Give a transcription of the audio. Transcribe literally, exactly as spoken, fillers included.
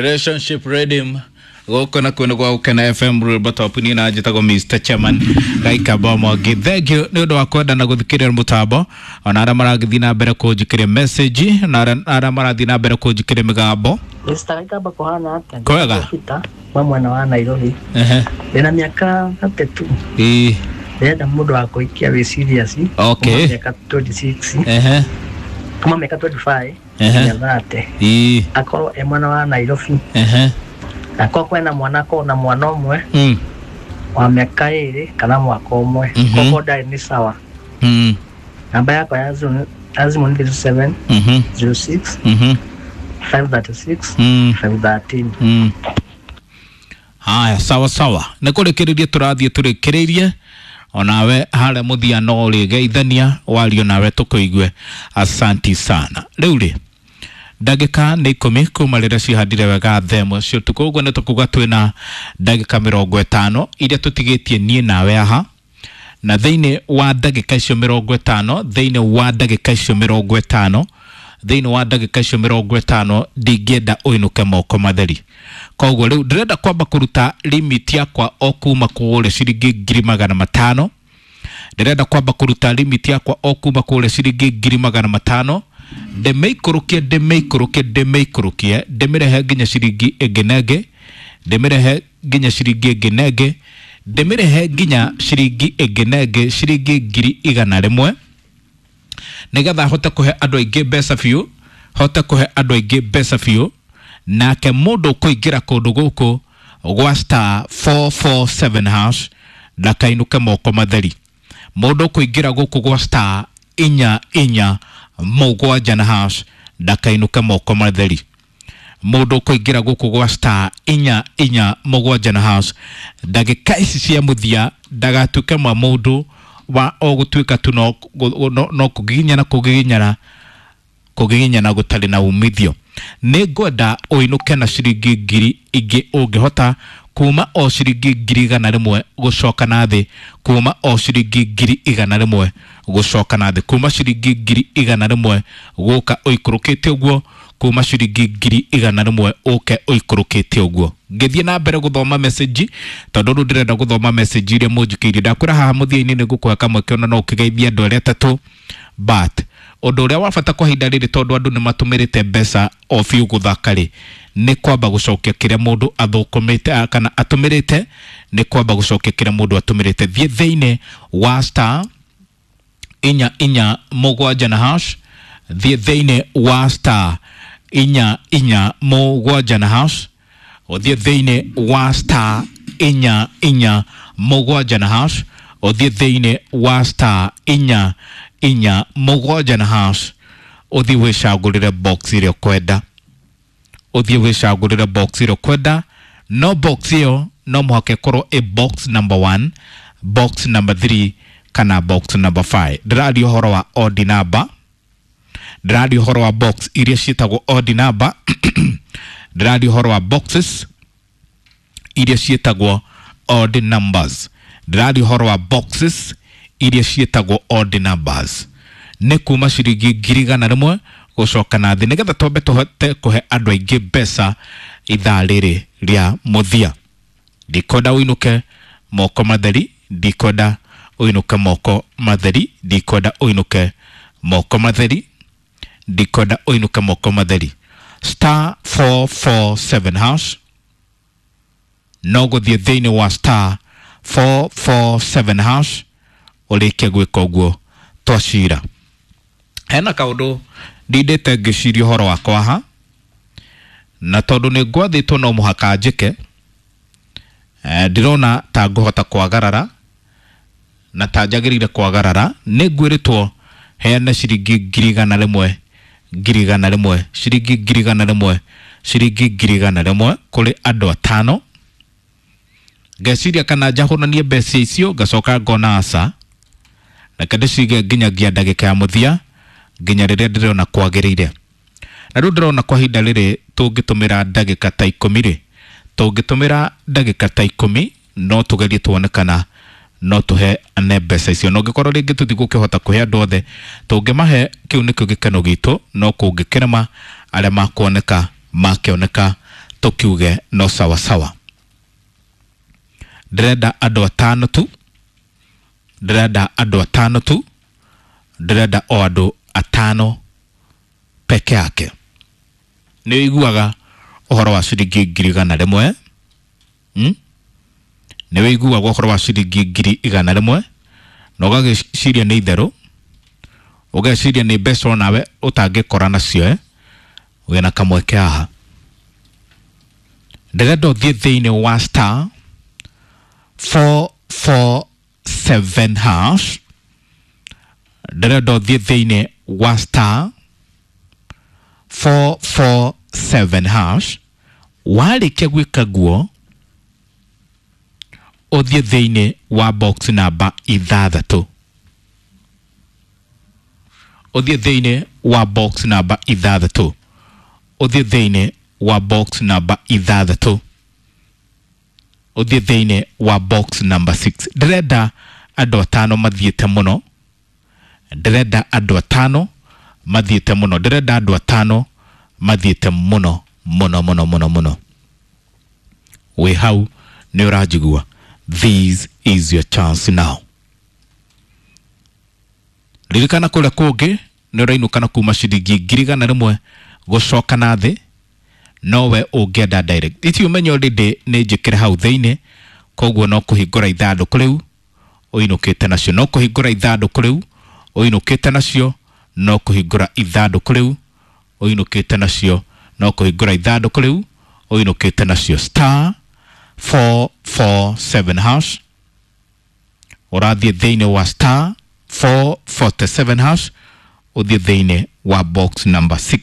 Relationship Redeem gũkũ na kwĩnĩ gwa Gũkena F M rwĩmbo top niĩ na njĩtagwo Mister Chairman Gaikamba Mwangi. Thank you nĩ ũndũ wa kwenda na gũthikĩrĩria mũtambo, ona arĩa maragĩthiĩ na mbere kũnjikĩria message na arĩa marathiĩ na mbere kũnjikĩria mĩgambo. Mister Gaikamba kũhana atĩa? Kwega. Peter wa mwena wa Nairobi. Ehe. Ndĩna mĩaka thirty-two. Ĩĩ. Ndĩrenda mũndũ wa kũhikia wĩ serious. Okay. Kuma mĩaka twenty-six. Ehe. Kuma mĩaka twenty-five. Ehe. Nginya thirty. Ĩĩ. Akorwo e mwena wa Nairobi. Ehe. Akorwo kwĩna mwana, akorwo na mwana ũmwe. Mm. Wa mĩaka ĩrĩ kana mwaka ũmwe. Mhm. Koguo ndarĩ nĩ sawa. Mm. Namba yakwa ya Zoom, ya Zoom nĩ thirty-seven, Mhm. zero six, Mhm. five thirty-six, Mm. five thirteen. Mm. Haya, sawa sawa. Nĩ kũrĩkĩrĩria tũrathiĩ tũrĩkĩrĩirie onawe harĩa mũthia no ũrĩgeithania wario nawe tũkũigue. Asanti sana. Rĩu rĩ, ndagĩka nĩ ikũmi kuma rĩrĩa cihandire wega themo cia ũtukũ, ũguo nĩ tũkuga twĩna ndagĩka mĩrongo ĩtano iria tũtigĩtie niĩ nawe aha, na thĩinĩ wa ndagĩka icio mĩrongo ĩtano, thĩinĩ wa ndagĩka icio mĩrongo ĩtano, thĩinĩ wa ndagĩka icio mĩrongo ĩtano ndingĩenda ũinũke moko matheri. Koguo rĩu ndĩrenda kwamba kũruta limit yakwa o kuma kũrĩa ciringi ngiri magana matano. Ndĩrenda kwamba kũruta limit yakwa o kuma kũrĩa ciringi ngiri magana matano, ndĩmĩikũrũkie, ndĩmĩikũrũkie, ndĩmĩikũrũkie, ndĩmĩrehe nginya ciringi ĩngĩ na ĩngĩ, ndĩmĩrehe nginya ciringi ĩngĩ na ĩngĩ, ndĩmĩrehe nginya ciringi ĩngĩ na ĩngĩ, ciringi ngiri igana rĩmwe, nĩgetha hote kũhe andũ aingĩ mbeca biũ, hote kũhe andũ aingĩ mbeca biũ. Nake mũndũ ũkũingĩra kũndũ gũkũ gwa star four four seven hash ndakainũke moko matheri. Mũndũ ũkũingĩra gũkũ gwa star inya inya mũgwanja na hash ndakainũke moko matheri. Mũndũ ũkũingĩra gũkũ gwa star inya inya mũgwanja na hash ndagĩka ici cia mũthia ndagatuĩke mwa mũndũ wa o gũtuĩka tu no, no, no kũgiginyana, kũgiginyana, kũgiginyana gũtarĩ na umithio. Nĩ ngwenda ũinũke na ciringi ngiri ingĩ ũngĩhota, kuma o ciringi ngiri igana rĩmwe gũcoka na thĩ, kuma o ciringi ngiri igana rĩmwe gũcoka na thĩ, kuma ciringi ngiri igana rĩmwe gũka ũikũrũkĩte ũguo, kuma ciringi ngiri igana rĩmwe ũke ũikũrũkĩte ũguo. Ngĩthiĩ na mbere gũthoma message, tondũ rĩu ndĩrenda gũthoma message iria mũnjikĩirie. Ndakwĩra haha mũthia-inĩ nĩ ngũkũhe kamweke ona no ũkĩgeithie andũ arĩa atatũ, but ũndũ ũrĩa wa bata kwa ihinda rĩrĩ, tondũ andũ nĩ matũmĩrĩte mbeca o biũ gũthaka rĩ, nĩ kwamba gũcokia kĩrĩa mũndũ athũkũmĩte, a, kana atũmĩrĩte, nĩ kwamba gũcokia kĩrĩa mũndũ atũmĩrĩte. Thiĩ thĩinĩ wa star inya inya mũgwanja na hash, thiĩ thĩinĩ wa star inya inya mũgwanja na hash, ũthiĩ thĩinĩ wa star inya inya mũgwanja na hash, ũthiĩ thĩinĩ wa star inya inya mũgwanja na hash, ũthiĩ wĩcagũrĩre box ĩrĩa ũkwenda, ũthiĩ wĩcagũrĩre box ĩrĩa ũkwenda. No box ĩyo no mũhaka ĩkorwo ĩ box number one, box number three kana box number five. Ndĩraria ũhoro wa odd number, ndĩraria ũhoro wa box iria ciĩtagwo odd number, ndĩraria ũhoro wa boxes iria ciĩtagwo odd numbers, ndĩraria ũhoro wa boxes iria ciĩtagwo odd numbers. Nĩ kuma ciringi ngiri igana rĩmwe gũcoka na thĩ, nĩgetha twambe tũhote kũhe andũ aingĩ mbeca ithaa rĩrĩ rĩa mũthia. Ndikwenda ũinũke moko matheri, ndikwenda ũinũke moko matheri, ndikwenda ũinũke moko matheri, ndikwenda ũinũke moko matheri. Star four four seven hash, no gũthiĩ thĩinĩ wa star four four seven hash ũrĩkie gwĩka ũguo twacira. Hena kaũndũ ndindĩte ngĩciria ũhoro wakwa haha, na tondũ nĩ ngwathĩtwo no mũhaka njĩke, eh, ndĩrona ta ngũhota kwagarara na ta njagĩrĩire kwagarara. Nĩ ngwĩrĩtwo heane ciringi ngiri igana rĩmwe, ngiri igana rĩmwe, ciringi ngiri igana rĩmwe, ciringi ngiri igana rĩmwe kũrĩ andũ atano. Ngeciria kana njahũranie mbeca icio, ngacoka ngona aca, reke ndĩcige nginyagia ndagĩka ya mũthia, nginya rĩrĩa ndĩrona kwagĩrĩire. Na rĩu ndĩrona kwa ihinda rĩrĩ tũngĩtũmĩra ndagĩka ta ikũmi rĩ, tũngĩtũmĩra ndagĩka ta ikũmi no tũgerie tuone kana no tũheane mbeca icio. Na ũngĩkorwo rĩngĩ tũtigũkĩhota kũhe andũ othe, tũngĩmahe kĩu nĩkĩo gĩkeno gitũ, no kũngĩkĩrema arĩa makuoneka makĩoneka Tũkiuge no sawa sawa. Ndĩrenda andũ atano tu, ndĩrenda andũ atano tu, ndĩrenda o andũ atano peke yake. Nĩ ũiguaga ũhoro wa ciringi ngiri igana rĩmwe? Hmm? Nĩ ũiguaga ũhoro wa ciringi ngiri igana rĩmwe na ũgagĩciria nĩ itherũ, ũgeciria nĩ mbeca onawe ũtangĩkora nacio, eh? Wĩna kamweke haha. Ndĩrenda ũthiĩ thĩinĩ wa star four four seven hash. Ndĩrenda ũthiĩ thĩinĩ wa star four four seven hash. Warĩkia gwĩka guo, ũthiĩ thĩinĩ wa box namba ithathatũ, ũthiĩ thĩinĩ wa box namba ithathatũ, ũthiĩ thĩinĩ wa box namba ithathatũ, ũthiĩ thĩinĩ wa box number six. Ndĩrenda andũ atano mathiĩte mũno, ndĩrenda andũ atano mathiĩte mũno, ndĩrenda andũ atano mathiĩte mũno mũno mũno mũno mũno. Wĩ hau nĩ ũranjigua? This is your chance now. Ririkana kũrĩa kũngĩ nĩ ũrainũka na kuma ciringi ngiri igana rĩmwe gũcoka na thĩ, nowe ũngĩenda direct. Iti ũmenye already nĩ njĩkĩre hau thĩinĩ, koguo no kũhingũra ithandũkũ rĩu ũinũkĩte nacio, no kũhingũra ithandũkũ rĩu ũinũkĩte nacio, no kũhingũra ithandũkũ rĩu ũinũkĩte nacio, no kũhingũra ithandũkũ rĩu ũinũkĩte nacio. Star four four seven hash. Ũrathiĩ thĩinĩ wa star four forty seven hash, ũthiĩ thĩinĩ wa box number six.